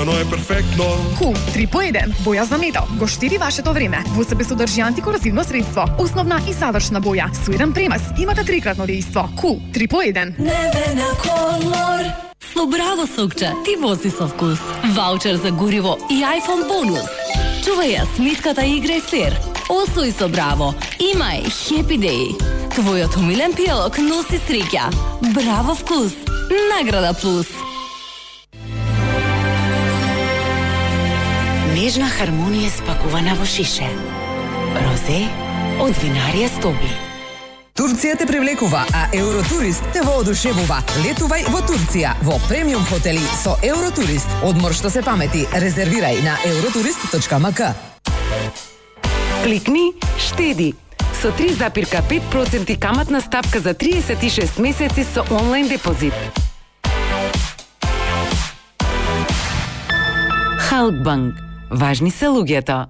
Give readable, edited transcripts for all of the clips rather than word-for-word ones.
Стварно е перфектно. Кул 3 по 1. Боја за метал. Го штири вашето време. Во себе содржи антикорозивно средство. Основна и завршна боја. Со еден премаз имате трикратно дејство. Кул 3 по 1. Небена колор. Со Браво сокче ти вози со вкус. Ваучер за гориво и iPhone бонус. Чувај ја смитката и играј фер. Освои со Браво. Имај Happy Day. Твојот умилен пијалок носи среќа. Браво вкус. Награда плюс. Нежна хармонија спакувана во шише. Розе од винарија Стоби. Турција те привлекува, а Евротурист те воодушевува. Летувај во Турција во премиум хотели со Евротурист. Одмор што се памети. Резервирај на euroturist.mk. Кликни, штеди. Со 3,5% каматна ставка за 36 месеци со онлайн депозит. Халкбанк. Важни се луѓето.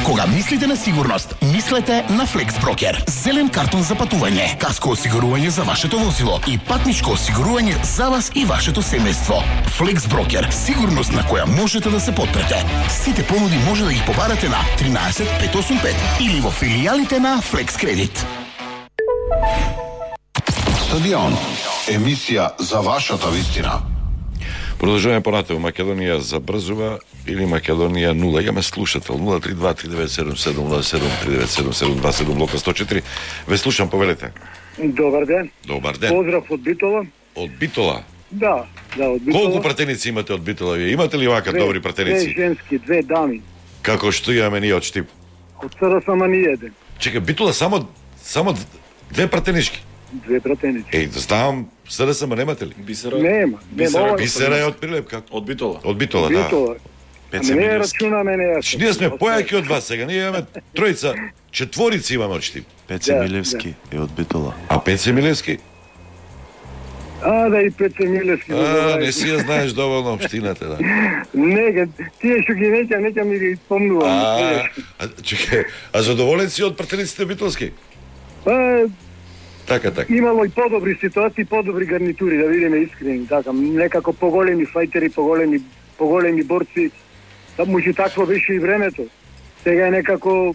Кога мислите на сигурност, мислете на FlexBroker. Зелен картон за патување, каско осигурување за вашето возило и патничко осигурување за вас и вашето семејство. FlexBroker, сигурност на која можете да се потпрете. Сите понуди може да ги побарате на 13 585 или во филијалите на Flex Credit. Стадион, емисија за вашата вистина. Продолжуваме понатаму. Македонија забрзува или Македонија нула. Имаме слушател 032-3977-07-3977-27 блока 104. Ве слушам, повелете. Добар ден. Добар ден. Поздрав од Битола. Од Битола? Да, од Битола. Колку пратеници имате од Битола? Вие имате ли вака добри пратеници? Две женски, две дами. Како што имаме ние од Штип? Од СРСМ ни еден. Чека, Битола само две пратенички? Две пратенички. Еј, да ставам СРСМ, немате ли? Бисера. Нема. Бисера е од Прилеп, како? Од Битола. Од Битола, да. Не рачунаме неа. Ние сме појаки од вас сега. Ние имаме тројца, четворици имаме од Штип. Пеце Милевски е од Битола. А Пеце Милевски? Да, и Пеце Милевски. Не си ја знаеш доволно општината, да. Не, тие што ги неќа ми ги спомнувам. Чекај, а задоволен си од пратениците битолски? Така. Имало и подобри ситуации, подобри гарнитури, да видиме искрени, така, некако поголеми фајтери, поголеми борци. Може такво беше и времето. Сега е некако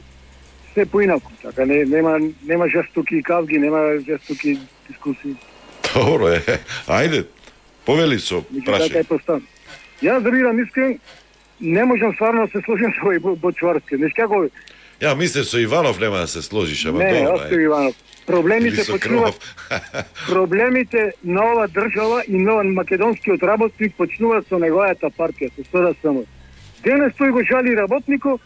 се поинаку, така, нема жестоки кавги, нема жестоки дискусии. Добро е. Ајде, повели со прашање. Така е постан. Јас да бидам искрен, не можам стварно да се сложим со овој Бочварски. Знаеш како? Ја мислев со Иванов нема да се сложиш, ама не, добро. Не, Иванов. Проблемите на ова држава и на македонскиот работник почнуваат со неговата партија, со СРСМ. Денес тој го жали работникот,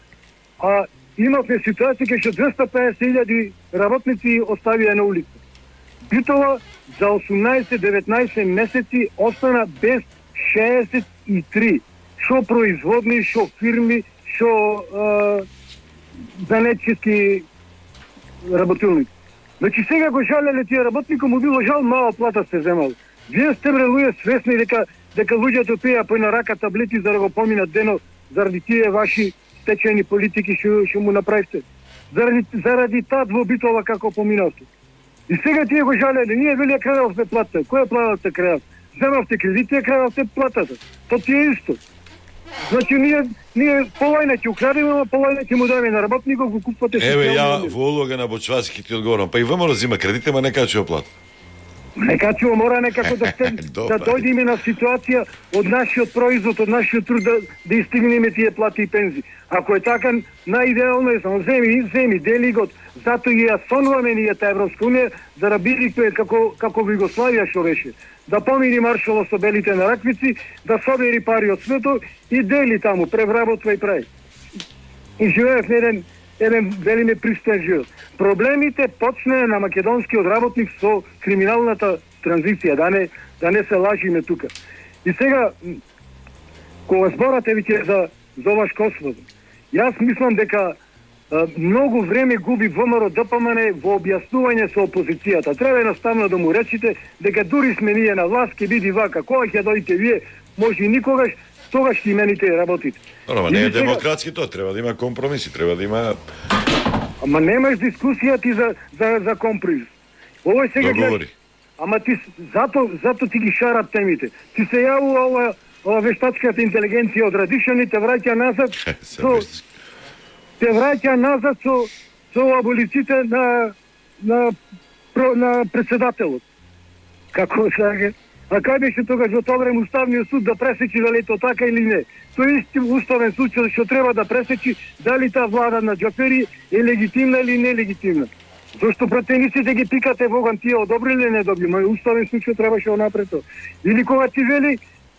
а имавме ситуација кај што 250.000 работници оставија на улица. Битола за 18-19 месеци остана без 63. Шо производни, шо фирми, шо занетчески работилници. Значи сега го жалеле тие работници, му било жал, мала плата се земал. Вие сте луѓе свесни дека луѓето пија по на рака таблети за да го поминат денот заради тие ваши стечени политики што му направите. Заради таа во Битола како поминавте. И сега тие го жалеле, ние вели крадовте плата. Која плата крадов? Земавте кредити, крадовте платата. То ти е исто. Значи ние полајна ќе украдеме, а полајна ќе му дадеме на работникот, го купувате. Еве ја во улога на Бочварски ти одговорам. Па и ВМРО зима кредите, ма не качува плата. Не качува, мора некако да дојдеме на ситуација од нашиот производ, од нашиот труд да истигнеме тие плати и пензии. Ако е така, најидеално е само земи, дели го, затоа и ја сонуваме ние та Европска унија, за да биде како во Југославија што беше. Да помини Маршало со белите на раквици, да собери пари од светот и дели таму, превработва и прави. И живеев еден велиме пристоен живот. Проблемите почнаа на македонскиот работник со криминалната транзиција, да не се лажиме тука. И сега, кога зборате веќе за оваш Косово, јас мислам дека многу време губи ВМРО ДПМН во објаснување со опозицијата. Треба едноставно да му речите дека дури сме ние на власт, ќе биде вака, кога ќе дојдете вие, може и никогаш, тогаш ќе имените работите. Ама не е демократски тоа, треба да има компромиси, треба да има... Ама немаш дискусија ти за компромис. Овој сега договори. Ама ти зато ти ги шарат темите. Ти се јавува ова вештачката интелигенција од Радишани те враќа назад со аболиците на председателот. Како сега? А кај беше тогаш во тоа време Уставниот суд да пресечи дали тоа така или не? Тој исти уставен суд што треба да пресечи дали таа влада на Џафери е легитимна или нелегитимна. Зошто пратениците ги пикате Боган тие одобрили или не одобрили? Мој уставен суд што требаше напред. Или кога ти вели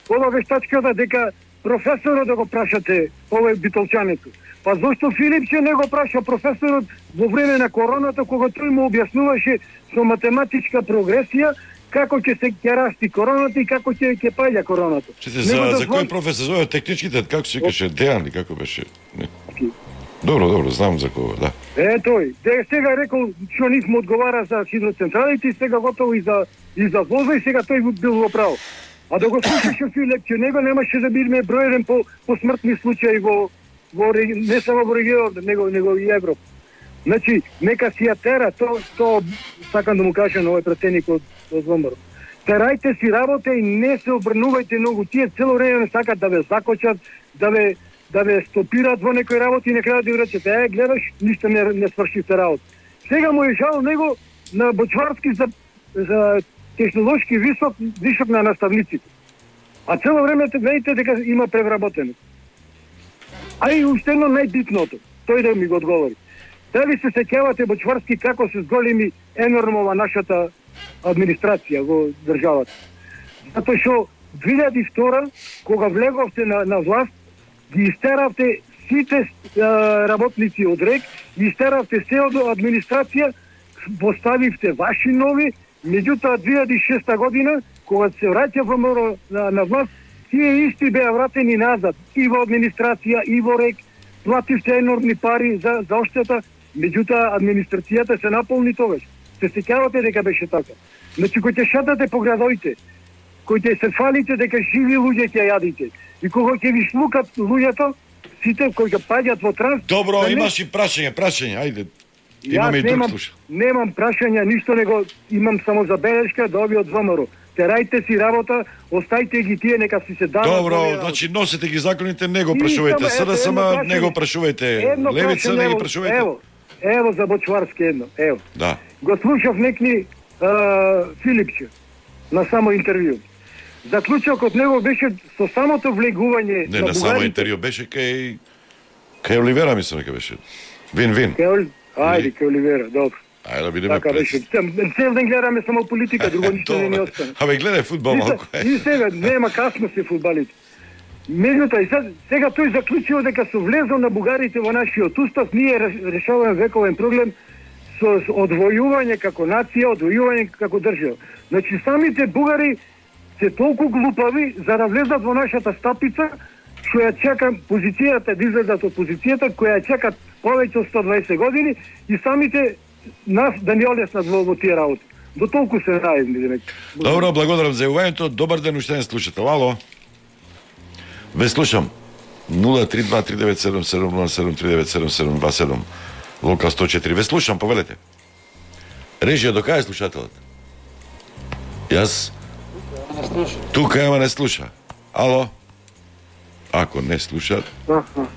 ова вештачката дека професорот да го прашате овој битолчането. Па зошто Филипче не го праша професорот во време на короната кога тој му објаснуваше со математичка прогресија како ќе се расти короната и како ќе паѓа короната. За кој професор зове техничките, како се викаше, Дејан ли како беше? Добро, знам за кого, да. Тој, сега рекол што нисмо одговара за хидроцентралите, сега готово и за воза и сега тој бил во право. А да го слушаше Филип, че него немаше да бидеме бројен по смртни случаи во не само во регионот, него и Европа. Значи, нека си ја тера, то сакам да му кажам на овој пратеник од ВМРО. Терајте си работа и не се обрнувајте многу. Тие цело време сакат да ве закочат, да ве стопираат во некои работи и на крајот да ви речете, гледаш, ништо не свршите работа. Сега му е жал него на Бочварски за технолошки висок на наставниците. А цело време видите дека има превработено. А и уште едно најбитното, тој да ми го одговори. Дали се сеќавате Бочварски како се зголеми енормова нашата администрација во државата? Затоа што 2002 кога влеговте на власт, ги истеравте сите работници од РЕК, ги истеравте се од администрација, поставивте ваши нови, меѓутоа 2006 година, кога се враќа ВМРО на власт, тие исти беа вратени назад и во администрација, и во РЕК, плативте енормни пари за оштета, меѓутоа администрацијата се наполни тогаш. Се сеќавате дека беше така. Значи, кој ќе шатате по градоите, кој ќе се фалите дека живи луѓе ќе јадите, и кога ќе ви шлукат луѓето, сите кои ќе паѓат во транс... Добро, имаш и прашање, ајде. Имаме и друг слушај. Немам прашања, ништо него, имам само забелешка да ови од ВМРО. Терајте си работа, остајте ги тие, нека си се дадат. Добро, значи носите ги законите, не го прашувајте СДСМ, не го прашувајте Левица, не ги прашувајте. Ево за Бочварски едно, ево. Да. Го слушав некни Филипче на само интервју. Заклучокот него беше со самото влегување на само интервју, беше кај Оливера, мислам дека беше. Вин. Ајде, кај Оливера, добро. Ајде да бидеме прес. Цел ден гледаме само политика, друго ништо не ни остане. Абе, гледај фудбал малку. И сега, нема касно се фудбалите. Меѓутоа, сега тој заклучил дека со влезо на бугарите во нашиот устав, ние решаваме вековен проблем со одвојување како нација, одвојување како држава. Значи, самите бугари се толку глупави за да влезат во нашата стапица, што ја чека позицијата, да излезат од позицијата, која ја чекат повеќе од 120 години и самите нас да ни олеснат во тие работи. До толку се најдни. Добро, благодарам за јавувањето. Добар ден, уште еден слушател. Ало. Ве слушам. 032-397-707-397-7727. Лока 104. Ве слушам, повелете. Режија, до кај е слушателот? Јас? Тука, ама не слуша. Ало? Ако не слушат...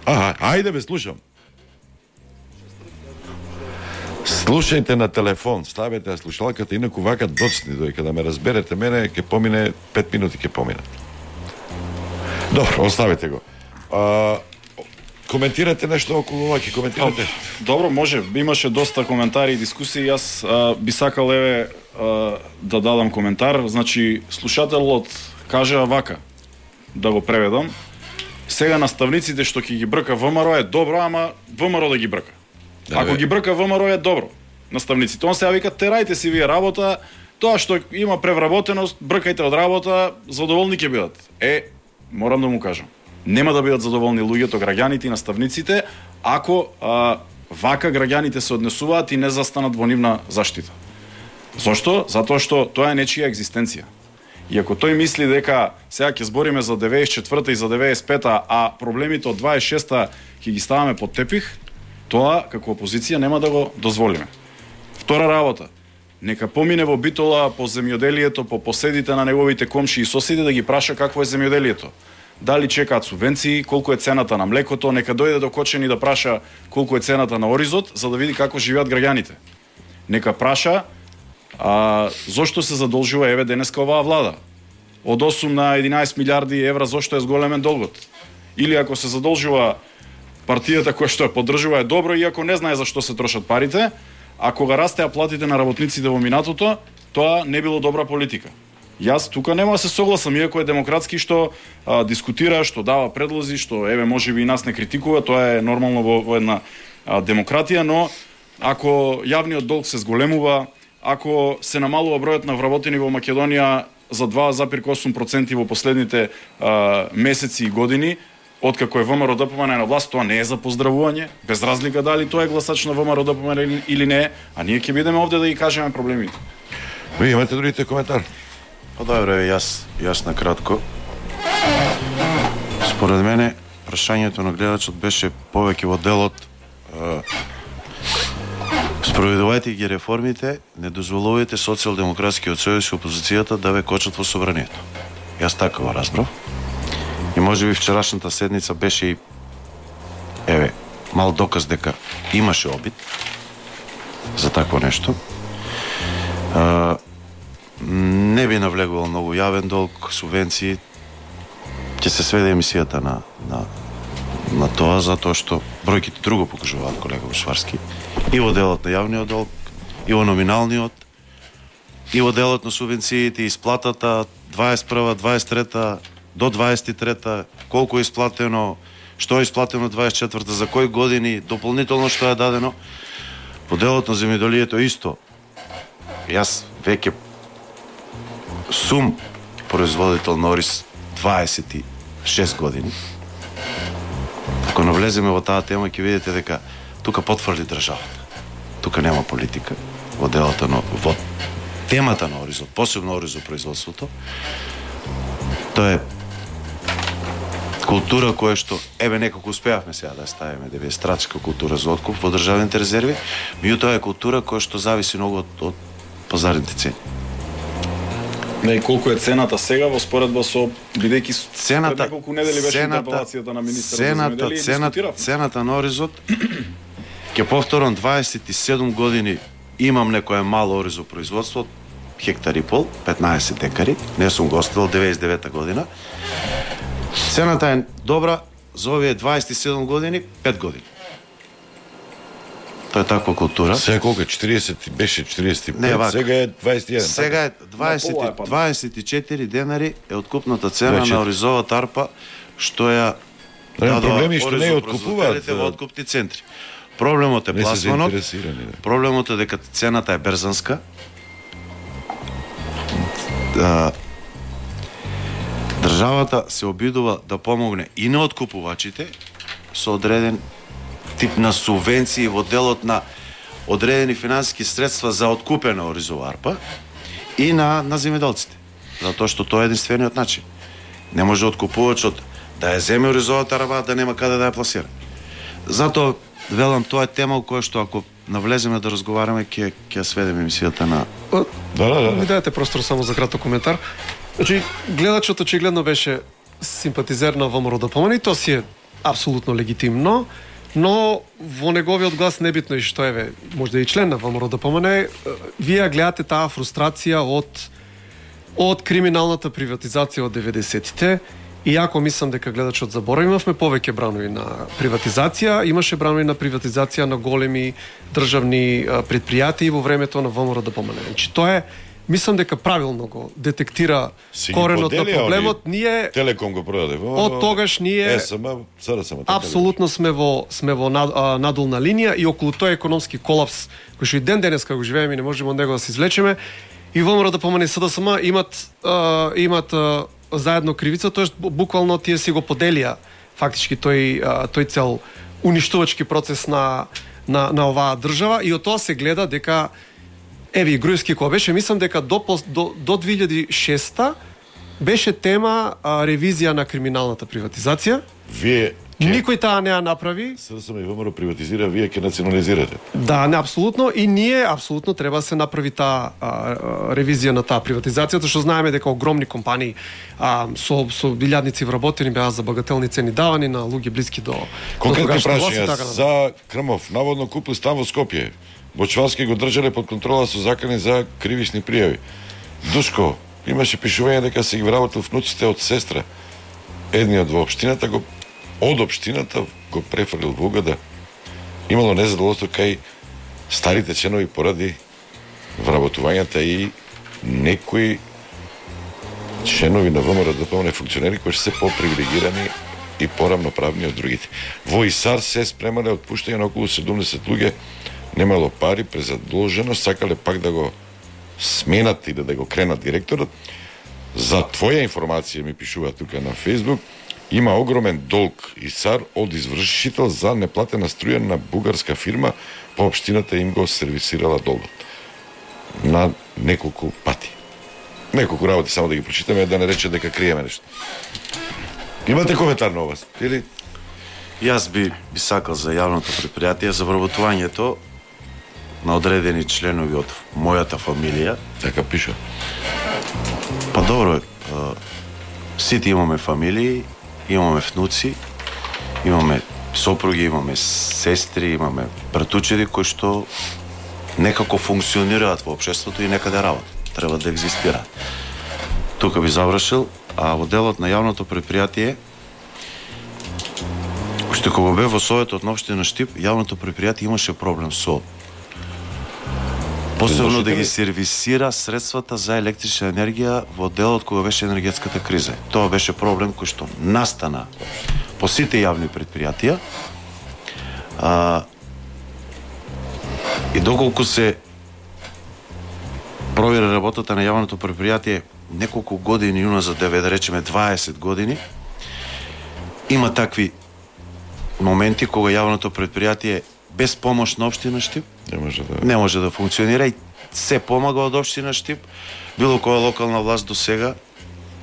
ајде бе, слушам. Слушајте на телефон, ставете на слушалката, инаку вака доцни дојка да ме разберете мене, ќе помине 5 минути ќе поминат. Добро, оставете го. Коментирате нешто околу ова, ќе коментирате? Добро, може. Имаше доста коментари и дискусии. Јас би сакал да дадам коментар. Значи, слушателот кажа вака, да го преведам. Сега наставниците што ќе ги брка ВМРО е добро, ама ВМРО да ги брка. Ако ги брка ВМРО е добро. Наставниците. Он сега вика, терајте си вие работа, тоа што има превработеност, бркајте од работа, задоволни ќе бидат. Морам да му кажам. Нема да бидат задоволни луѓето, граѓаните и наставниците, ако вака граѓаните се однесуваат и не застанат во нивна заштита. Зошто? Затоа што тоа е нечија екзистенција. И ако тој мисли дека сега ќе збориме за 94-та и за 95-та, а проблемите од 26-та ќе ги ставаме под тепих, тоа како опозиција нема да го дозволиме. Втора работа. Нека помине во Битола по земјоделието, по поседите на неговите комши и соседи да ги праша какво е земјоделието. Дали чекаат субвенции, колку е цената на млекото, нека дојде до Кочани да праша колку е цената на оризот, за да види како живеат граѓаните. Нека праша зошто се задолжува еве денеска оваа влада. Од 8 на 11 милиарди евра зошто е зголемен долгот. Или ако се задолжува партијата која што ја поддржува е добро, иако не знае за што се трошат парите, а кога растеа платите на работниците во минатото, тоа не било добра политика. Јас тука нема да се согласам, иако е демократски што дискутира, што дава предлози, што еве можеби и нас не критикува, тоа е нормално во една демократија, но ако јавниот долг се зголемува, ако се намалува бројот на вработени во Македонија за 2,8% во последните месеци и години, откако е ВМРО ДПМН на власт, тоа не е за поздравување, без разлика дали тоа е гласач на ВМРО ДПМН или не, а ние ќе бидеме овде да ги кажеме проблемите. Ви имате другите коментар? Па добре, јас на кратко. Според мене, прашањето на гледачот беше повеќе во делот спроведувајте ги реформите, не дозволувајте социјалдемократскиот сојуз и опозицијата да ве кочат во собранието. Јас така го разбрав. И можеби вчерашната седница беше и мал доказ дека имаше обид за такво нешто. Не би навлегувал многу јавен долг, субвенции. Ќе се сведе емисијата на тоа, затоа што бројките друго покажуваат, колега Бушварски. И во делот на јавниот долг, и во номиналниот, и во делот на субвенциите, исплатата 21, 23 до 23, колку е исплатено, што е исплатено 24, за кои години, дополнително што е дадено. Во делот на земјоделието исто. Јас веќе сум производител на ориз 26 години. Ако навлеземе во таа тема, ќе видите дека тука потврди државата. Тука нема политика во делото во темата на оризот, посебно оризопроизводството. Тоа е култура која што некако успеавме сега да ставиме да биде стратешка култура за откуп во државните резерви, меѓутоа е култура која што зависи многу од пазарните цени. Не, колку е цената сега во споредба со бидејќи пред неколку недели беше интерпелацијата на министерот за земјоделие и дискутиравме. Цената на оризот ќе повторам 27 години имам некое мало оризопроизводство, хектар и пол, 15 декари, не сум го оставил 99 година. Цената е добра за овие 27 години, 5 години. Тоа е таква култура. Сега колку е? 40, беше 45, не, сега е 21. Сега е 24 денари е откупната цена на оризова тарпа, што ја проблеми што не откупуваат во откупни центри. Проблемот е пласманот, проблемот е дека цената е берзанска. Државата се обидува да помогне и на откупувачите со одреден тип на субвенции во делот на одредени финансиски средства за откупена оризова арпа и на земјоделците. Затоа што тоа е единствениот начин. Не може откупувачот да ја земе оризовата арпа, да нема каде да ја пласира. Затоа велам, тоа е тема која што ако навлеземе да разговараме ќе сведеме емисијата на Ми дадете простор само за краток коментар. Значи, гледачот очигледно беше симпатизер на ВМРО ДПМН и тоа си е апсолутно легитимно, но во неговиот глас небитно и што може да е и член на ВМРО ДПМН, вие гледате таа фрустрација од криминалната приватизација од 90-тите. Иако мислам дека гледачот заборави, имавме повеќе бранови на приватизација, имаше бранови на приватизација на големи државни предпријатии во времето на ВМРО ДПМН. Значи тоа е, мислам дека правилно го детектира коренот на проблемот. Ние Телеком го продаде. Од тогаш ние апсолутно сме во надолна линија и околу тој економски колапс кој што и ден денеска го живееме и не можеме од него да се извлечеме. И ВМРО ДПМН и СДСМ имат заедно кривица, тоест буквално тие си го поделија фактички тој цел уништувачки процес на оваа држава и од тоа се гледа дека и Груевски кога беше, мислам дека до 2006 беше тема ревизија на криминалната приватизација. Вие Никој таа не ја направи. СДСМ и ВМРО приватизира, вие ќе национализирате. Да, не, апсолутно, и ние апсолутно треба да се направи таа ревизија на таа приватизација, што знаеме дека огромни компании со илјадници вработени беа за багателни цени давани на луѓе блиски до конкретно прашање за Крмов, наводно купил стан во Скопје. Бочварски го држале под контрола со закани за кривични пријави. Душко, имаше пишување дека се ги вработил внуците од сестра. Едниот во општината од општината го префрлил во Угада. Имало незадоволство кај старите членови поради вработувањата и некои членови на ВМРО-ДПМНЕ функционери кои се попривилегирани и порамноправни од другите. Во ИСАР се спремале отпуштање на околу 70 луѓе, немало пари, презадолжено, сакале пак да го сменат и да го кренат директорот. За твоја информација, ми пишува тука на Facebook, има огромен долг ИСАР од извршител за неплатена струја на бугарска фирма, по општината им го сервисирала долгот. На неколку пати. Неколку работи само да ги прочитаме, да не рече дека криеме нешто. Имате коментар на вас? Или? Јас би сакал за јавното предпријатие за вработувањето на одредени членови од мојата фамилија. Така пише. Па добро, сите имаме фамилии, имаме внуци, имаме сопруги, имаме сестри, имаме братучеди кои што некако функционираат во општеството и некаде работат. Треба да екзистираат. Тука би завршил, а во делот на јавното предпријатие, уште кога бе во Советот на општина Штип, јавното предпријатие имаше проблем со посебно да ги сервисира средствата за електрична енергија во делот кога беше енергетската криза. Тоа беше проблем кој што настана по сите јавни предпријатија. И доколку се провери работата на јавното предпријатие неколку години уназад, да речеме 20 години, има такви моменти кога јавното предпријатие без помош на општина Штип не може да функционира и се помага од општина Штип. Било која локална власт до сега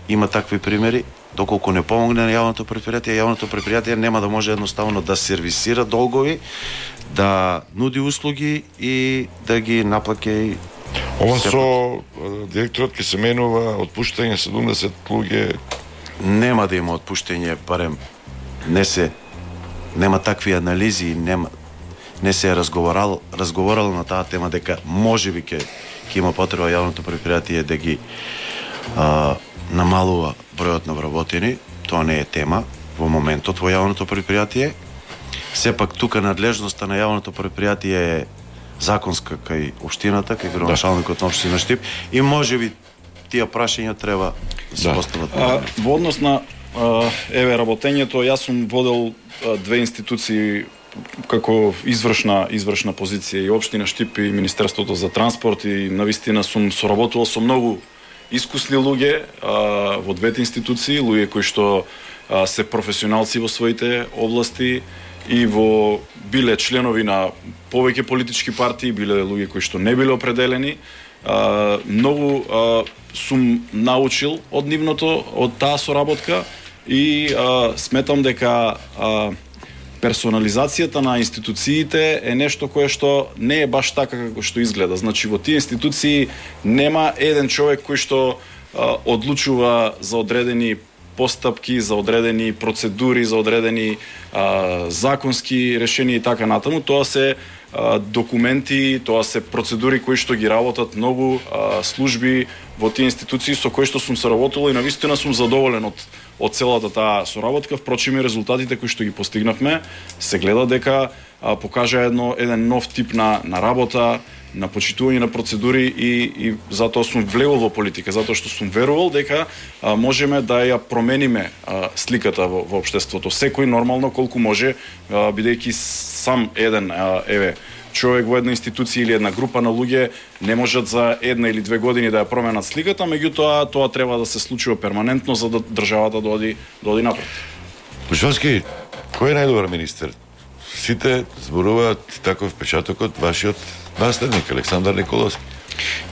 има такви примери. Доколку не помогне на јавното предпријатие нема да може едноставно да сервисира долгови, да нуди услуги и да ги наплаќа и ова со директорот ќе се менува, отпуштање 70 луѓе. Нема да има отпуштање, барем нема такви анализи, не се е разговарало на таа тема дека можеби ќе има потреба јавното предпријатие да ги намалува бројот на вработени. Тоа не е тема во моментот во јавното предпријатие. Сепак тука надлежноста на јавното предпријатие е законска кај општината, кај градоначалникот на општина Штип и можеби тие прашања треба да се постават. Во однос на работењето, јас сум водел две институции како извршна позиција и општина Штип и Министерството за транспорт и навистина сум соработувал со многу искусни луѓе во двете институции, луѓе кои што се професионалци во своите области и биле членови на повеќе политички партии, биле луѓе кои што не биле определени. Многу сум научил од нивното, од таа соработка и сметам дека персонализацијата на институциите е нешто кое што не е баш така како што изгледа. Значи во тие институции нема еден човек кој што одлучува за одредени постапки, за одредени процедури, за одредени законски решенија и така натаму. Тоа се документи, тоа се процедури кои што ги работат многу служби во тие институции со кои што сум соработувал и навистина сум задоволен од целата таа соработка. Впрочем и резултатите кои што ги постигнавме се гледа дека покажа еден нов тип на работа, на почитување на процедури и затоа сум влегол во политика, затоа што сум верувал дека можеме да ја промениме сликата во општеството. Секој нормално колку може, бидејќи сам еден човек во една институција или една група на луѓе не можат за една или две години да ја променат сликата, меѓутоа тоа треба да се случува перманентно за да државата да оди напред. Бушварски, кој е најдобар министер? Сите зборуваат таков впечатокот вашиот наследник Александар Николовски.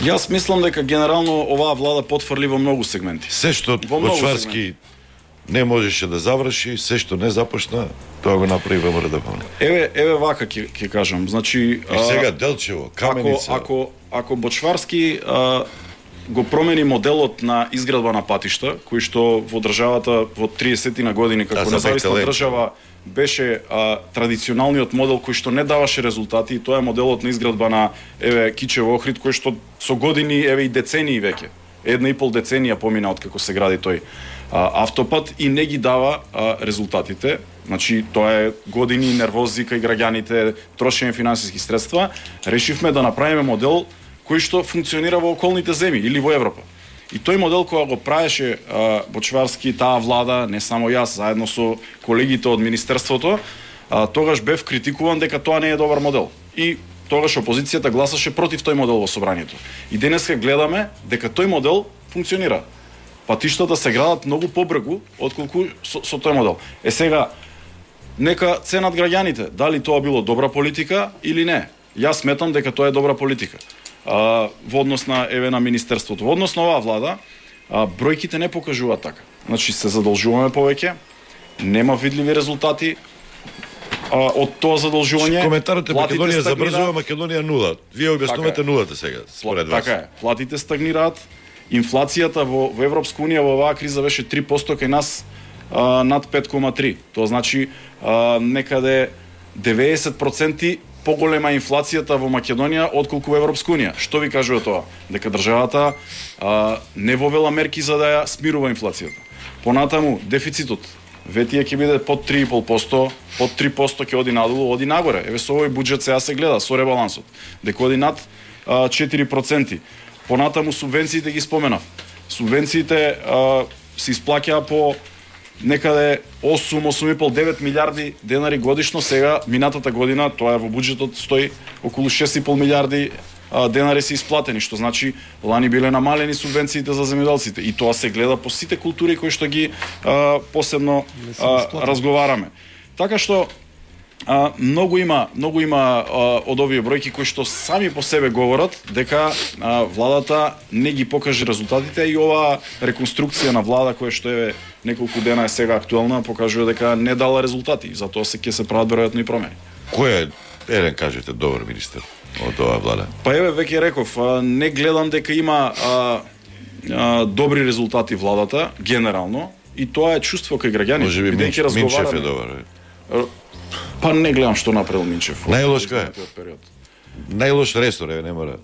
Јас мислам дека генерално оваа влада потфрли во многу сегменти. Се што Бочварски не можеше да заврши, се што не започна, тоа го направи ВМРО ДПМН. Еве вака ќе кажам, значи и сега Делчево, Каменица. Ако Бочварски го промени моделот на изградба на патишта, кој што во државата во 30 години како независна држава беше традиционалниот модел кој што не даваше резултати, и тоа е моделот на изградба на Кичево Охрид, кој што со години, и децении веќе, 1,5 деценија помина од како се гради тој автопат и не ги дава резултатите. Значи тоа е години нервози кај граѓаните, трошење финансиски средства. Решивме да направиме модел кој што функционира во околните земји или во Европа. И тој модел кога го правеше Бочварски, таа влада, не само јас, заедно со колегите од Министерството, тогаш бев критикуван дека тоа не е добар модел. И тогаш опозицијата гласаше против тој модел во собранието. И денеска гледаме дека тој модел функционира. Патиштата се градат многу побрзо отколку со тој модел. Сега, нека ценат граѓаните, дали тоа било добра политика или не. Јас сметам дека тоа е добра политика. Во однос на на Министерството. Во однос на оваа влада, бројките не покажуваат така. Значи се задолжуваме повеќе, нема видливи резултати од тоа задолжување. Коментарот е Македонија забрзува, Македонија нула. Вие објаснувате нулата сега, според вас. Така е. Платите стагнираат, инфлацијата во Европска унија во оваа криза беше 3%, кај нас над 5,3. Тоа значи некаде 90% поголема инфлацијата во Македонија отколку во Европска унија. Што ви кажува тоа? Дека државата не вовела мерки за да ја смирува инфлацијата. Понатаму дефицитот ветија ќе биде под 3,5%, под 3% ќе оди надолу, оди нагоре. Еве со овој буџет сега се гледа со ребалансот, дека оди над 4%. Понатаму субвенциите ги споменав. Субвенциите се исплаќаа по некаде 8,5-9 милиарди денари годишно. Сега, минатата година, тоа е во буџетот, стои околу 6,5 милиарди денари се исплатени, што значи лани биле намалени субвенциите за земјоделците. И тоа се гледа по сите култури кои што ги посебно разговараме. Така што многу има од овие бројки кои што сами по себе говорат дека владата не ги покаже резултатите, и оваа реконструкција на влада која што е неколку дена е сега актуелна, покажува дека не дала резултати, затоа ќе се прават веројатно и промени. Кој е, кажете, добар министер од оваа влада? Па еве веќе реков, не гледам дека има добри резултати владата генерално, и тоа е чувство кај граѓаните. Може би Минчев е добар. Па не гледам што направил Минчев. Најлош кој е? Најлош ресор, не мора.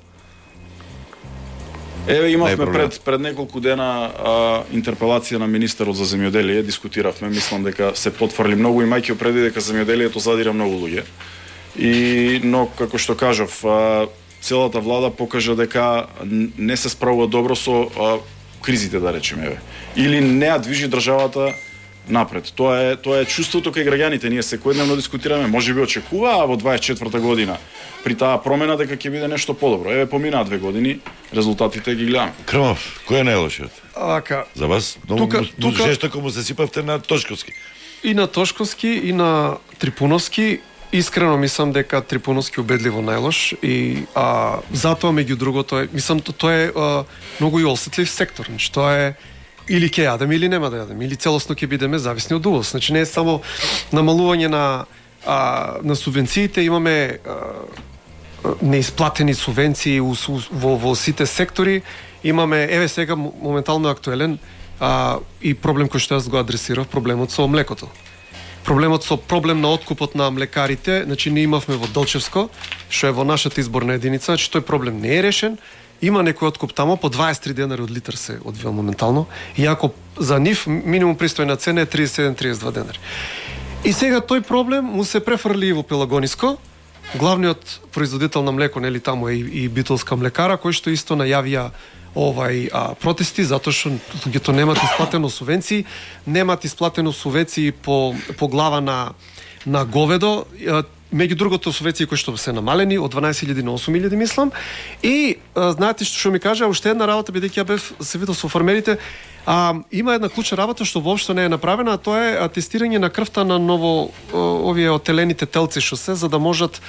Еве имавме пред неколку дена интерпелација на министерот за земјоделие, дискутиравме, мислам дека се потврли многу, имајќи преди дека земјоделието задира многу луѓе. Но како што кажав, целата влада покажа дека не се справува добро со кризите, да речеме, еве. Или не ја движи државата напред. Тоа е чувството кај граѓаните. Ние секојдневно дискутираме, можеби очекуваа во 24-та година при таа промена дека ќе биде нешто подобро. Еве поминаа 2 години, резултатите ги гледаме. Крмов, кој е најлошиот? За вас тука жестоко му се сипавте на Тошковски. И на Тошковски, и на Трипуновски. Искрено мислам дека Трипуновски убедливо најлош, и затоа меѓу другото е, мислам тоа е многу и осетлив сектор. Значи тоа е или ќе јадеме или нема да јадеме, или целосно ќе бидеме зависни од увоз. Значи не е само намалување на субвенциите, имаме неисплатени субвенции во сите сектори. Имаме, еве сега моментално актуелен и проблем кој што јас го адресирав, проблемот со млекото. Проблем на откупот на млекарите, значи ние имавме во Долчевско, што е во нашата изборна единица, значи тој проблем не е решен. Има некој откуп тамо, по 23 денари од литар се одвива моментално, иако за нив минимум пристојна цена е 37-32 денари. И сега тој проблем му се префрли и во Пелагониско. Главниот производител на млеко, нели тамо е и Битолска млекара, кој што исто најавија протести, затоа што луѓето немат исплатено субвенции, по глава на говедо. Меѓу другото субвенции кои што се намалени од 12.000 на 8.000, мислам. И знаете што ми кажа, уште една работа, бидејќи ја бев се видел со фармерите, Има една клучна работа што воопшто не е направена, а тоа е тестирање на крвта на ново овие отелените телци што се, за да можат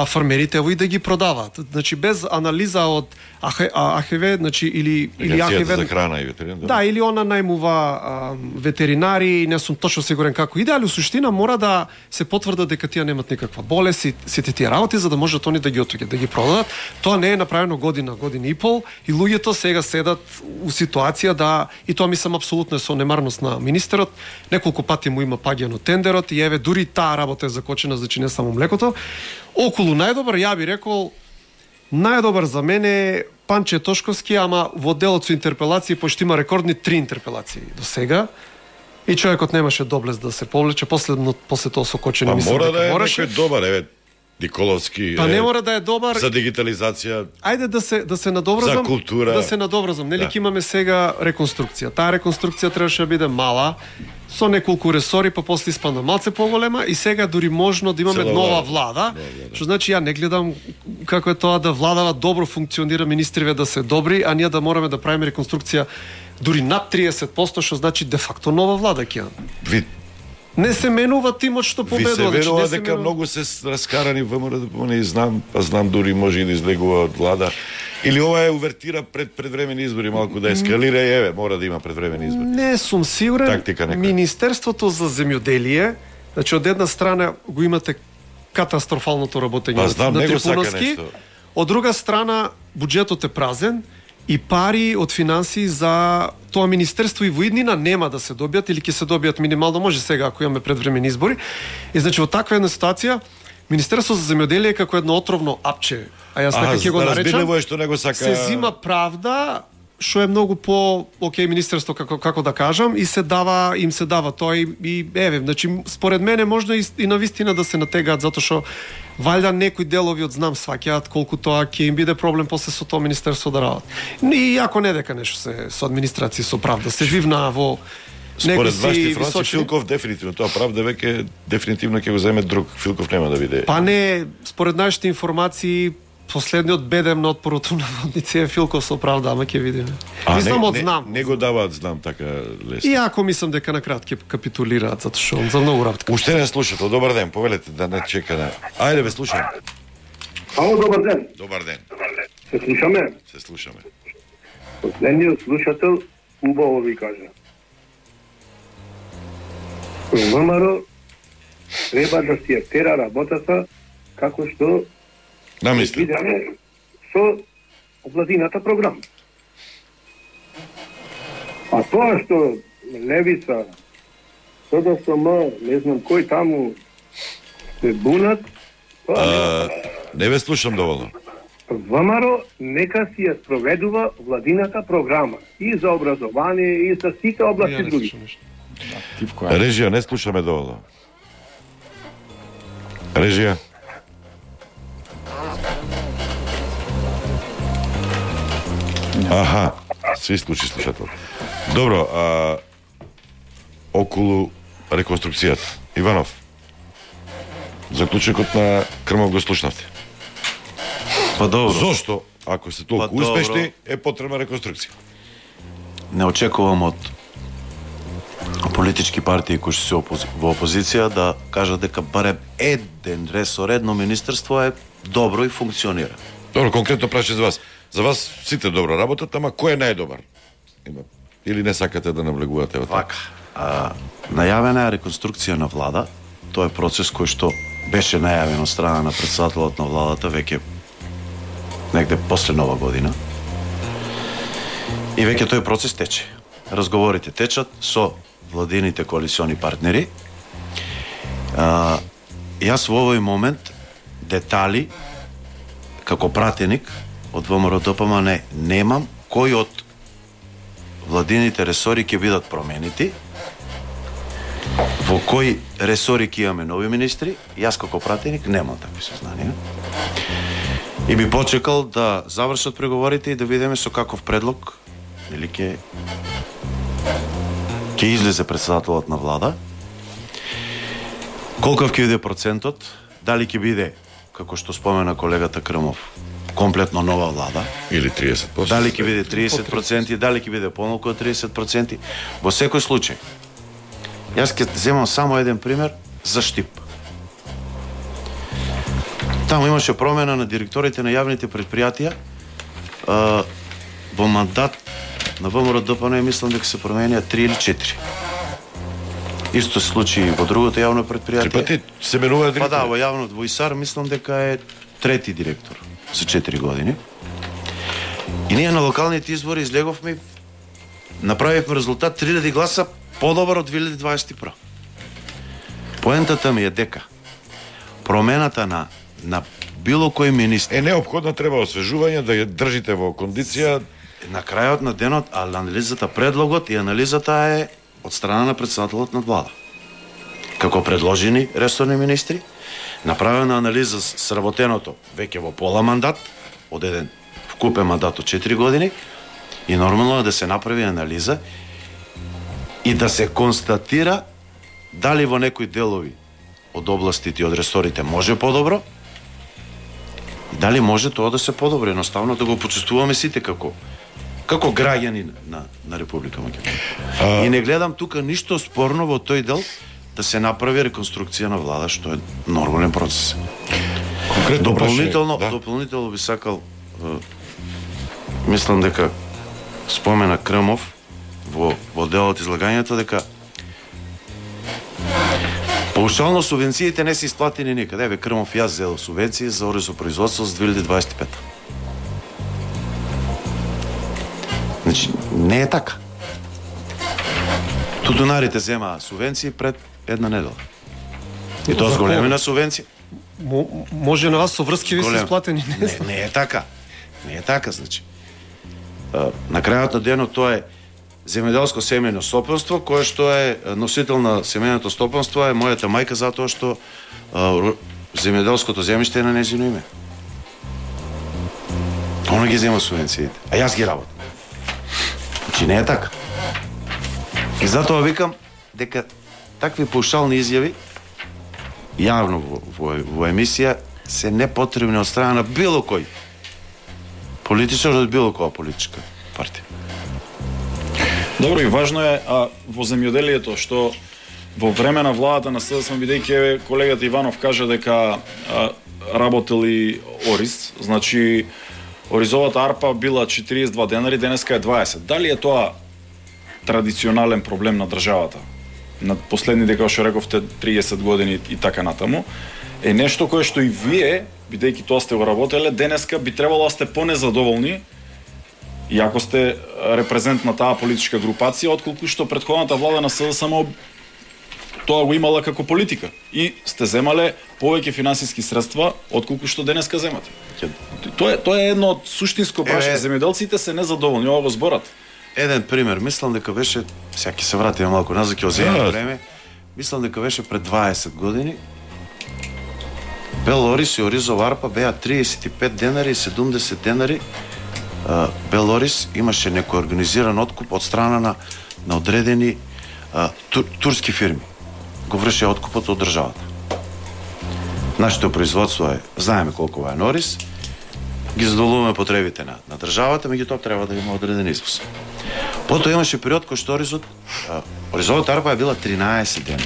фармерите и да ги продаваат. Значи без анализа од АХВ, значи или АХВ за храна и ветеринар. Да, или она најмува ветеринари, не сум точно сигурен како иде, али суштина мора да се потврда дека тие немат никаква болест и сите тие работи за да можат они да ги отуѓат, да ги продадат. Тоа не е направено година и пол и луѓето сега седат у ситуација да, и тоа мислам апсолутно е со немарност на министерот, неколку пати му има паѓано тендерот и еве дури таа работа е закочена, значи не само млекото. Околу најдобар, ја би рекол, најдобар за мене е Панче Тошковски, ама во делот со интерпелации, пошто има рекордни 3 интерпелации до сега. И човекот немаше доблест да се повлече, после тоа сокочени мислам дека мора мораше. да е некој добар, еве Николовски. Па не мора да е добар. За дигитализација. Ајде да се надобразам. За култура. Да се надобразам. Нели ќе имаме сега реконструкција. Таа реконструкција требаше да биде мала, со неколку ресори, па после испадна малце поголема и сега дури можно да имаме нова влада. Што значи ја не гледам како е тоа да владава добро функционира, министриве да се добри, а ние да мораме да правиме реконструкција дури над 30%, што значи де факто нова влада ќе имаме. Не се менува тимот што победува. Ви се верува дека многу се раскарани ВМРО, не знам дури може и да излегува од влада. Или ова е увертира пред предвремени избори, малку да ескалира и еве, мора да има предвремени избори. Не сум сигурен. Тактика Министерството за земјоделие, значи од една страна го имате катастрофалното работење на Трипуновски, од друга страна буџетот е празен и пари од финансии за тоа министерство и во иднина нема да се добијат или ќе се добијат минимално, може сега ако имаме предвремени избори. И значи во таква една ситуација Министерство за земјоделие е како едно отровно апче, а јас така ќе го наречам. Што него сака... Се зима правда, што е многу по окей министерство како да кажам и им се дава тоа и еве, значи според мене можно и на вистина да се натегаат затоа што валјда некои делови од знам сваќаат колку тоа ќе им биде проблем после со тоа министерство да работат. И ако не дека нешто се со администрација со правда се живна во според вашите информации Филков дефинитивно тоа правда веќе дефинитивно ќе го земе друг. Филков нема да биде. Па не, според нашите информации последниот бедем на отпорото на водници е Филков со правда, ама ќе видиме. Мислам од знам. Не го даваат знам така лесно. И ако мислам дека на крат ќе капитулираат затоа што за многу работа. Уште не слушате. Добар ден, повелете да не чекаме. Ајде ве слушам. Ало, добар ден. Добар ден. Се слушаме? Се слушаме. Последниот слушател убаво ви кажа. ВМРО треба да си ја тера работата како што намислам со владината програма. А тоа што Левица, СДСМ, не знам кој таму се бунат, тоа не ве слушам доволно. ВМРО нека си ја спроведува владината програма и за образование и за сите области други. Режија, не слушаме доволно. Режија. Аха, се исклучи слушател. Добро, околу реконструкцијата. Иванов, заклучокот на Крмов го слушнавте. Па добро. Зошто, ако се толку успешни, е потребна реконструкција? Не очекувам од политички партии кои се во опозиција да кажат дека барем еден ресор, едно министерство е добро и функционира. Добро, конкретно прашање за вас. За вас сите добро работат, ама кој е најдобар? Или не сакате да навлегувате во тоа? Најавена е реконструкција на влада. Тоа е процес кој што беше најавен од страна на претседателот на владата веќе негде после Нова година. И веќе тој процес тече. Разговорите течат со владините коалициони партнери. Јас во овој момент детали како пратеник од ВМРО-ДПМН немам кој од владините ресори ќе бидат променити, во кои ресори ќе имаме нови министри. Јас како пратеник немам такви сознанија. И би почекал да завршат преговорите и да видиме со каков предлог или ќе излезе претседателот на влада. Колков ќе биде процентот, дали ќе биде како што спомена колегата Крмов, комплетно нова влада, или 30%. Дали ќе биде 30%, дали ќе биде помалку од 30%, во секој случај. Јас ќе земам само еден пример за Штип. Таму имаше промена на директорите на јавните предпријатија. Во мандат на ВМРО ДПМН мислам дека се променија 3 или 4. Исто се случи во другото јавно предпријатие. 3 пати се менува директор. Па да, во јавното во ИСАР мислам дека е трети директор за 4 години. И ние на локалните избори излеговме, направивме резултат 3000 гласа подобар од 2021. Поентата ми е дека промената на било кој министр неопходно, треба освежување, да ја држите во кондиција. На крајот на денот, анализата, предлогот и анализата е од страна на претседателот на влада. Како предложени ресорни министри, направена анализа сработеното веќе во пола мандат, од еден вкупен мандат од 4 години, и нормално е да се направи анализа и да се констатира дали во некои делови од областите и од ресорите може подобро, и дали може тоа да се подобри, едноставно да го почувствуваме сите како граѓани на Република Македонија. И не гледам тука ништо спорно во тој дел да се направи реконструкција на влада, што е нормален процес. Дополнително би сакал, мислам дека спомена Крмов во делот излагањето, дека паушално субвенциите не се исплатени никаде. Еве Крмов јас зел субвенции за оризопроизводство за 2025. Значи, не е така. Тутунарите зема субвенции пред една недела. И тоа зголемена субвенција. Може на вас со врски ви се исплатени. Не е така. Не е така, значи. На крајот на денот тоа е земјоделско семејно стопанство, кое што е носител на семејното стопанство е мојата мајка, затоа што земјоделското земјиште е на нејзино име. Она ги зема субвенциите, а јас ги работам. Значи не е така. И затоа викам дека такви паушални изјави јавно во емисија се непотребни од страна на било кој политичар од било која политичка партија. Добро, и важно е во земјоделието што во време на владата на СДСМ, бидејќи колегата Иванов кажа дека работели ориз, значи оризовата арпа била 42 денари, денеска е 20. Дали е тоа традиционален проблем на државата? На последните, како што рековте, 30 години и така натаму, е нешто кое што и вие, бидејќи тоа сте го работеле, денеска би требало да сте понезадоволни, иако сте репрезент на таа политичка групација, отколку што претходната влада на СДСМ тоа го имала како политика и сте земале повеќе финансиски средства отколку што денеска земате. Тоа е едно од суштинско прашање. Земјоделците се незадоволни, ова го зборат. Еден пример, мислам дека беше, сега ќе се вратиме малку назад, ќе оземеме време. Мислам дека беше пред 20 години. Бел ориз и оризова арпа беа 35 денари и 70 денари. Бел ориз имаше некој организиран откуп од страна на одредени турски фирми. Го врши откупот од државата. Нашето производство е, знаеме колку е ориз, ги задоволуваме потребите на државата, меѓутоа треба да има одреден извоз. Потоа имаше период кој што оризовата арпа е била 13 дена.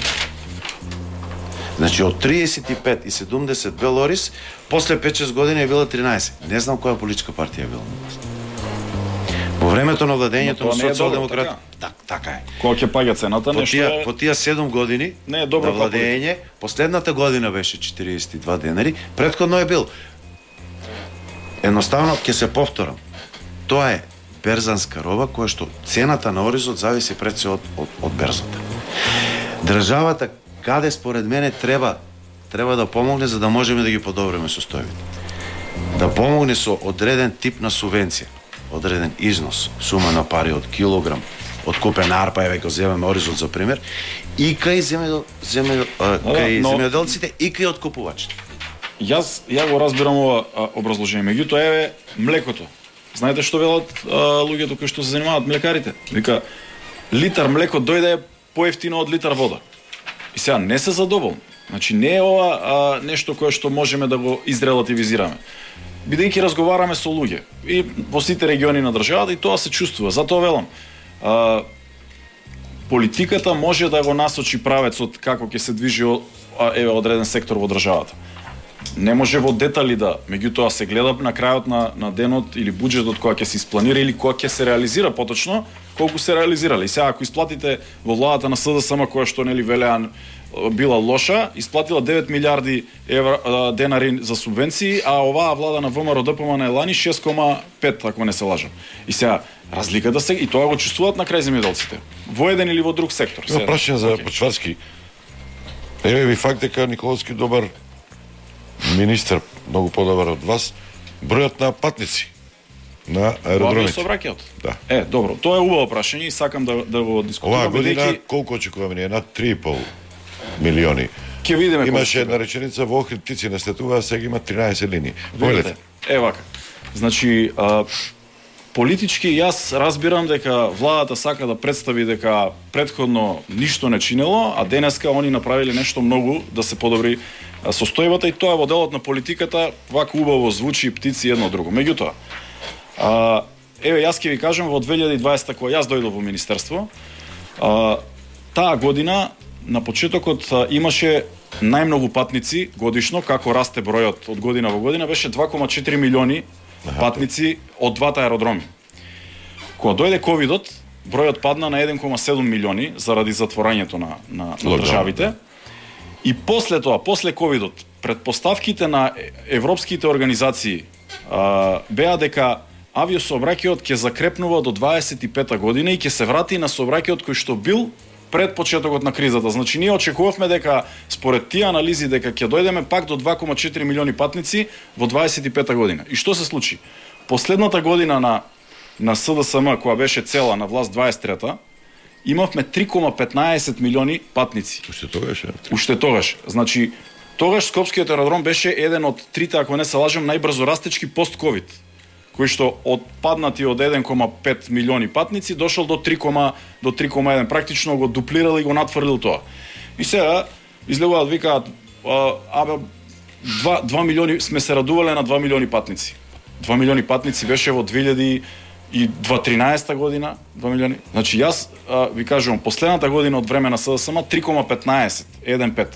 Значи од 35 и 70 бел ориз, после 5-6 години е била 13. Не знам која политичка партија е била на власт. Во времето на владењето на социјалдемократ, така е. Кога ќе паѓа цената, нешто е... По тие 7 години на владење, последната година беше 42 денари, претходно е бил. Едноставно ќе се повторам. Тоа е берзанска роба која што цената на оризот зависи пред се од берзата. Државата каде според мене треба да помогне за да можеме да ги подобриме состојбите. Да помогне со одреден тип на субвенција, одреден износ, сума на пари од килограм, од купена арпа, еве го земеме оризот за пример, и кај земјоделците и кај откупувачите. Ја го разбирам ова образложение, меѓутоа еве млекото. Знаете што велат луѓето кои што се занимаваат млекарите? Вика, литар млеко дојде поевтино од литар вода. И сега не се задоволни. Значи не е ова нешто кое што можеме да го изрелативизираме. Бидејќи разговараме со луѓе и во сите региони на државата и тоа се чувствува. Затоа велам, политиката може да го насочи правецот како ќе се движи одреден сектор во државата. Не може во детали да, меѓутоа се гледа на крајот на денот или буџетот која ќе се испланира или која ќе се реализира поточно, колку се реализирали. Сега ако исплатите во владата на СДСМ која што нели велеа била лоша, исплатила 9 милиарди денари за субвенции, а оваа влада на ВМРО ДПМН е лани 6,5 ако не се лажам. И сега разликата се и тоа го чувствуваат на крај земјоделците. Во еден или во друг сектор. Има прашање за Почварски. Еве ви факт дека Николовски добар министр, многу подобар од вас, бројот на патници на аеродромите. Да. Добро, тоа е убаво прашање и сакам да го дискутираме. Оваа година колку очекуваме ние? Над 3,5 милиони. Ќе видиме. Имаше една реченица во Охрид птици не слетуваа, сега има 13 линии. Повелете. Вака. Значи, политички јас разбирам дека владата сака да представи дека претходно ништо не чинело, а денеска они направиле нешто многу да се подобри состојбата и тоа во делот на политиката вака убаво звучи птици едно друго. Меѓутоа, еве јас ќе ви кажам во 2020 кога јас дојдов во министерство, таа година на почетокот имаше најмногу патници годишно, како расте бројот од година во година, беше 2,4 милиони патници од двата аеродроми. Кога дојде ковидот, бројот падна на 1,7 милиони заради затворањето на државите. И после тоа, после ковидот, предпоставките на европските организации беа дека авиосообраќајот ќе закрепнува до 25-та година и ќе се врати на сообраќајот кој што бил пред почетокот на кризата. Значи ние очекувавме дека според тие анализи дека ќе дојдеме пак до 2,4 милиони патници во 25-та година. И што се случи? Последната година на СДСМ која беше цела на власт 23-та, имавме 3,15 милиони патници. Уште тогаш. Значи тогаш Скопскиот аеродром беше еден од трите, ако не се лажам, најбрзо растечки пост-ковид, кој што отпаднати од 1,5 милиони патници дошол до 3,1, практично го дуплирал и го надфрлил тоа. И сега излегуваат викаат 2 милиони сме се радувале на 2 милиони патници. 2 милиони патници беше во 2013 година, 2 милиони. Значи јас ви кажувам последната година од време на СДСМ 3,15, 1,5.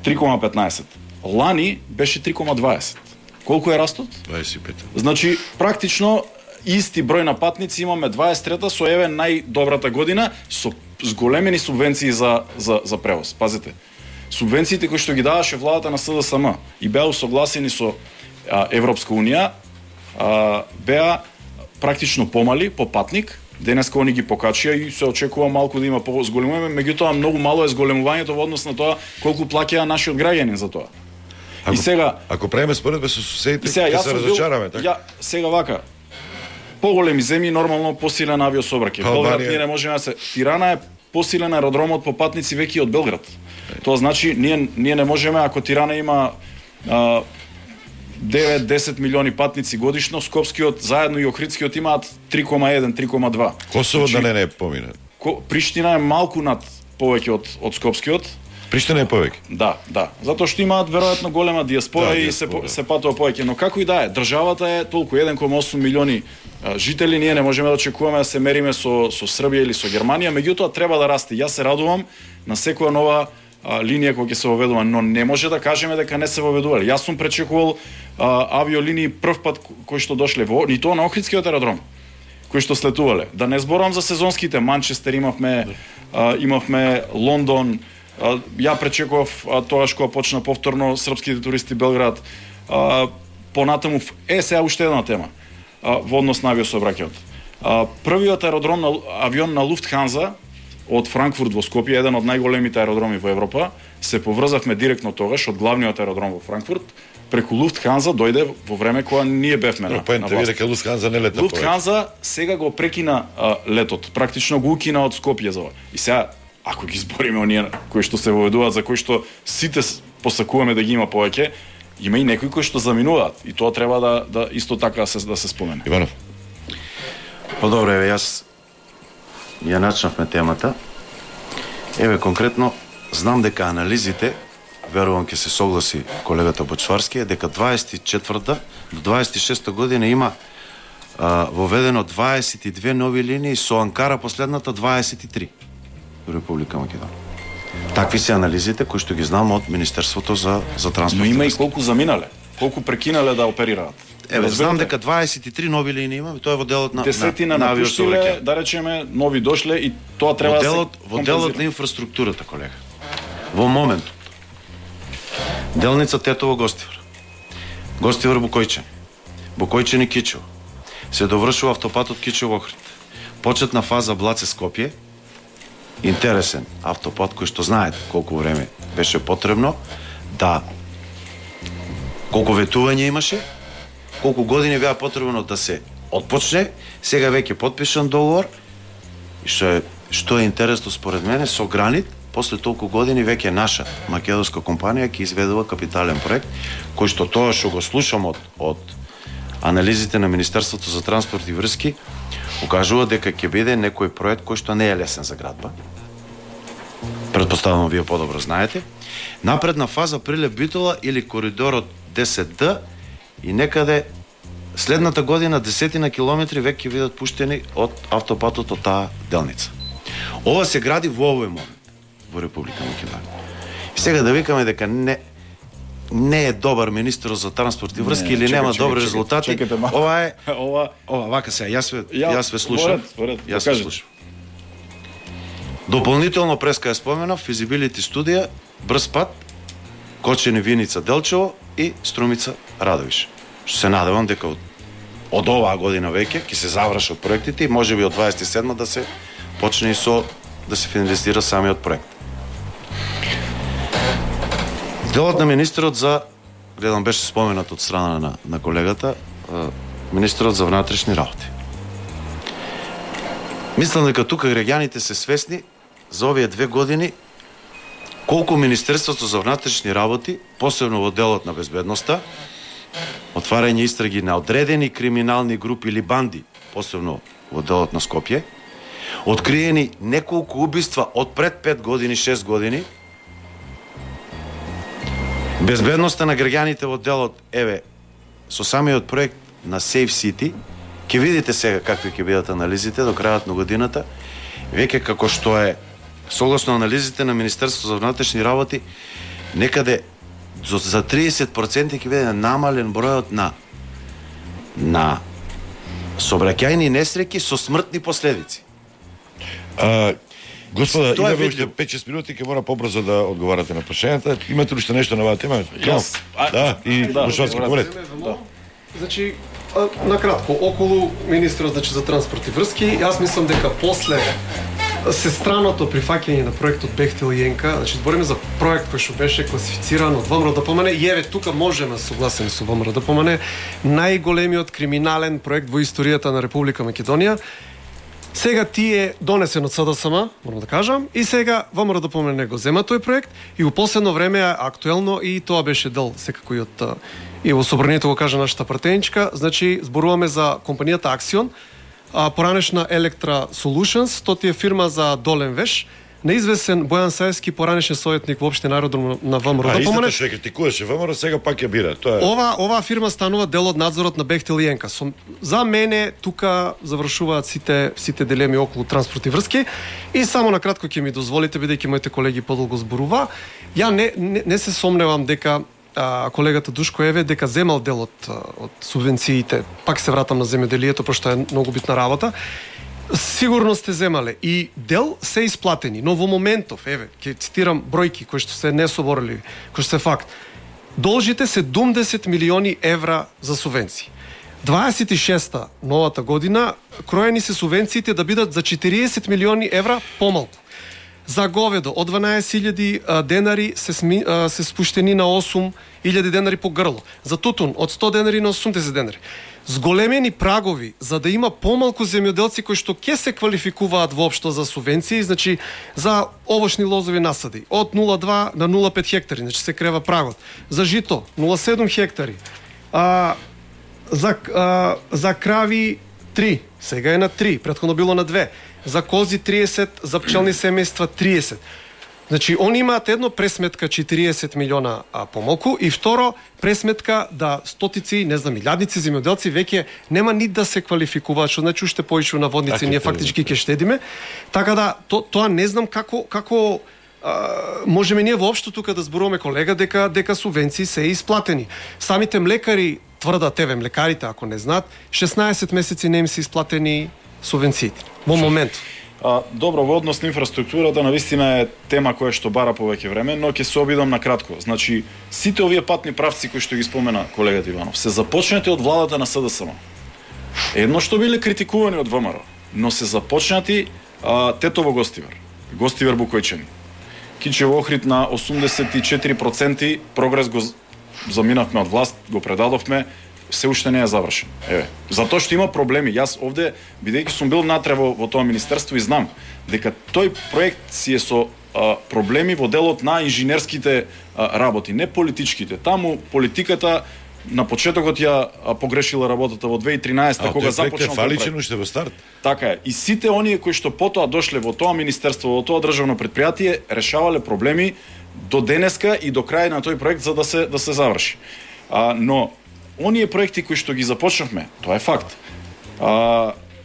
3,15. Лани беше 3,20. Колку е растот? 25. Значи, практично исти број на патници имаме 23-та со еве најдобрата година со зголемени субвенции за превоз. Пазете. Субвенциите кои што ги даваше владата на СДСМ и беа усогласени со Европска унија, беа практично помали по патник. Денеска они ги покачија и се очекува малку да има зголемување, меѓутоа многу мало е зголемувањето во однос на тоа колку плаќа нашиот граѓанин за тоа. И сега, ако правиме споредба со суседите, ќе се разочараме, така? Сега вака, поголеми земји нормално посилен авиосообраќај. Белград ние не можеме да се... Тирана е посилен аеродромот по патници веќе од Белград. Тоа значи ние не можеме, ако Тирана има 9-10 милиони патници годишно, Скопскиот заедно и Охридскиот имаат 3,1, 3,2. Косово да не помине. Приштина е малку над повеќе од Скопскиот. Приштина е повеќе. Да. Затоа што имаат веројатно голема диаспора и се патува повеќе, но како и да е, државата е толку 1,8 милиони жители, ние не можеме да очекуваме да се мериме со Србија или со Германија, меѓутоа треба да расте. Јас се радувам на секоја нова линија која ќе се воведува, но не може да кажеме дека не се воведувале. Јас сум пречекувал авиолинии прв пат кои што дошле во и тоа на Охридскиот аеродром, кои што слетувале. Да не зборувам за сезонските, Манчестер имавме Лондон. Ја пречекував тогаш кога почна повторно српските туристи Белград. Понатаму сега уште една тема во однос на авиосообраќајот. Првиот авион на Луфтханза од Франкфурт во Скопје, еден од најголемите аеродроми во Европа, се поврзавме директно тогаш од главниот аеродром во Франкфурт преку Луфтханза дојде во време кога ние бевме на власт. Дека Луфтханза не лета. Луфтханза сега го прекина летот, практично го укина од Скопје за ова. И сега ако ги збориме оние кои што се воведуваат, за кои што сите посакуваме да ги има повеќе, има и некои кои што заминуваат и тоа треба да исто така да се спомене. Иванов. Добро, еве јас ја начнавме темата. Еве конкретно знам дека анализите верувам ќе се согласи колегата Бочварски, е дека 24-та до 26-та година има воведено 22 нови линии, со Анкара последната 23 во Република Македонија. Такви се анализите кои што ги знам од Министерството за транспорт. Но има и колку заминале, колку прекинале да оперираат. Знам дека 23 нови линии има, тоа е во делот на десетина напуштиле, да речеме, нови дошле и тоа треба да се во делот на инфраструктурата, колега. Во моментот делница Тетово Гостивар, Гостивар Букојчани, Букојчани Кичево, се довршува автопатот Кичево Охрид. Почетна фаза Блаце Скопје, интересен автопат кој што знаете колку време беше потребно, колку ветување имаше, колку години беа потребно да се отпочне, сега веќе потпишан договор, и што е интересно според мене, со Гранит, после толку години веќе наша македонска компанија ќе изведува капитален проект, кој што тоа што го слушам од анализите на Министерството за транспорт и врски, укажува дека ќе биде некој проект кој што не е лесен за градба. Предпоставувам вие подобро знаете. Напредна фаза Прилеп Битола или коридорот 10D и некаде следната година десетина километри веќе ќе бидат пуштени од автопатот од таа делница. Ова се гради во овој момент во Република Македонија. И сега да викаме дека не е добар министер за транспорт и врски или нема добри резултати, ова е вака се, јас ве слушам. Јас ве слушам. Дополнително преска ја споменав, физибилити студија, брз пат, Кочени Виница Делчево и Струмица Радовиш. Што се надевам дека од оваа година веќе ќе се завршат проектите и можеби од 27 да се почне и да се финализира самиот проект. Делот на министерот гледам беше споменат од страна на колегата, министерот за внатрешни работи. Мислам дека тука граѓаните се свесни за овие 2 години колку Министерството за внатрешни работи, посебно во делот на безбедноста, отварање истраги на одредени криминални групи или банди, посебно во делот на Скопје, откриени неколку убиства од пред 5 години, 6 години, безбедноста на граѓаните во делот, со самиот проект на Safe City, ќе видите сега какви ќе бидат анализите до крајот на годината, веќе како што е согласно анализите на Министерството за внатрешни работи, некаде за 30% ќе биде намален бројот на сообраќајни несреќи со смртни последици. Господа, имаме уште 5-6 минути, ќе мора побрзо да одговарате на прашањата. Имате ли уште нешто на оваа тема? Да, и Бушварски, говорете. Значи, накратко, околу министерот за транспорт и врски, јас мислам дека после сестраното прифаќање на проектот Бехтел и Енка, значи збориме за проект кој што беше класифициран од ВМРО-ДПМН, и тука можеме согласени со ВМРО-ДПМН, најголемиот криминален проект во историјата на Република Македонија. Сега тие донесен од СДСМ, морам да кажам, и сега ВМРО-ДПМН го зема тој проект и во последно време е актуелно и тоа беше дел секако и во собранието го кажа нашата пратеничка, значи зборуваме за компанијата Аксион, поранешна Electra Solutions, тоа е фирма за Долен Веш, неизвесен Бојан Саевски, поранешен советник во општина аеродром на ВМРО. Истата што критикуваше ВМРО, сега пак ја бира. Тоа е. Оваа фирма станува дел од надзорот на Бехтел и Енка. За мене тука завршуваат сите дилеми околу транспорт и врски и само на кратко ќе ми дозволите, бидејќи моите колеги подолго зборува, ја не се сомневам дека колегата Душко Еве дека земал дел од субвенциите. Пак се вратам на земјоделието, пошто е многу битна работа. Сигурно сте земале и дел се исплатени, но во моментов, ќе цитирам бројки кои што се несоборливи, кои што се факт. Должите 70 милиони евра за субвенции. 26-та новата година кроени се субвенциите да бидат за 40 милиони евра помалку. За говедо од 12.000 денари се спуштени на 8.000 денари по грло. За тутун од 100 денари на 80 денари. Зголемени прагови за да има помалку земјоделци кои што ќе се квалификуваат воопшто за субвенции, значи за овошни лозови насади од 0,2 на 0,5 хектари, значи се крева прагот. За жито 0,7 хектари. За крави 3, сега е на 3, претходно било на 2. За кози 30, за пчелни семејства 30. Значи, они имаат едно пресметка 40 милиона помалку и второ пресметка да стотици, не знам, илјадници земјоделци веќе нема ни да се квалификуваат, што значи уште поише на водници, ние фактички ќе штедиме. Така да тоа не знам како можеме ние воопшто тука да зборуваме, колега, дека субвенции се исплатени. Самите млекари тврдат, еве млекарите ако не знаат, 16 месеци не им се исплатени субвенциите во момент. Добро, во однос на инфраструктурата навистина е тема која што бара повеќе време, но ќе се обидам на кратко. Значи, сите овие патни правци кои што ги спомена колегата Иванов, се започнати од владата на СДСМ. Едно што биле критикувани од ВМРО, но се започнати Тетово Гостивар, Гостивар Букојчани. Кичево Охрид на 84% прогрес го заминавме од власт, го предадовме, се уште не е завршен. Еве, затоа што има проблеми. Јас овде, бидејќи сум бил натре во тоа министерство и знам дека тој проект си е со проблеми во делот на инженерските работи, не политичките. Таму политиката на почетокот ја погрешила работата во 2013 кога започнал фаличен уште во старт. Така е. И сите оние кои што потоа дошле во тоа министерство, во тоа државно предпријатие, решавале проблеми до денеска и до крај на тој проект за да се заврши. Но оние проекти кои што ги започнавме, тоа е факт.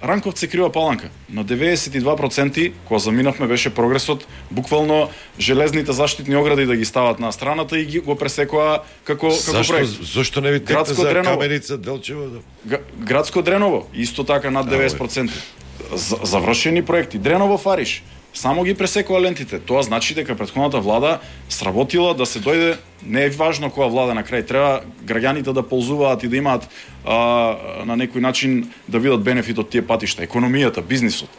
Ранковци Крива Паланка на 92% кога заминавме беше прогресот, буквално железните заштитни огради да ги стават на страната и го пресекоа како проект. Зошто не ви текна за Каменица, Делчево? Градско Дреново исто така над 90%. Завршени проекти. Дреново Фариш само ги пресекоа лентите. Тоа значи дека претходната влада сработила да се дојде, не е важно која влада на крај, треба граѓаните да ползуваат и да имаат на некој начин да видат бенефит од тие патишта, економијата, бизнисот.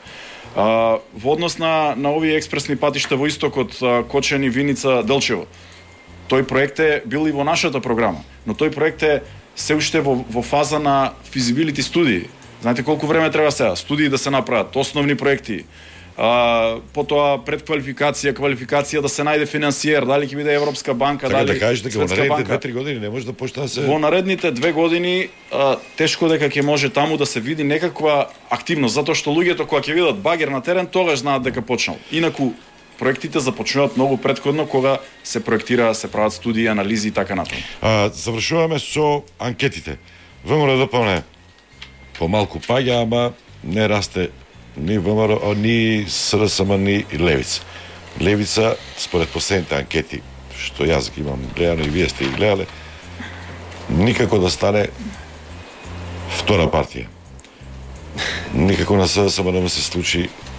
Во однос на овие експресни патишта во истокот, Кочани, Виница, Делчево, тој проект е бил и во нашата програма, но тој проект е се уште во фаза на физибилити студии. Знаете колку време треба сега? Студии да се направат, основни проекти, потоа предквалификација, квалификација, да се најде финансиер, дали ќе биде Европска банка, така, дали да кажеш дека во Светска наредните банка. 2-3 години не може да почне да се... Во наредните 2 години тешко дека ќе може таму да се види некаква активност, затоа што луѓето кога ќе видат багер на терен, тогаш знаат дека почнал. Инаку проектите започнуваат многу претходно кога се проектира, се прават студии, анализи и така натаму. Завршуваме со анкетите. ВМРО ДПМН помалку паѓа, ама не расте ни ВМРО, ни СДСМ, ни Левица. Левица, според последните анкети, што јас ги имам гледано и вие сте ги гледале, никако да стане втора партија. Никако на СДСМ не му се случи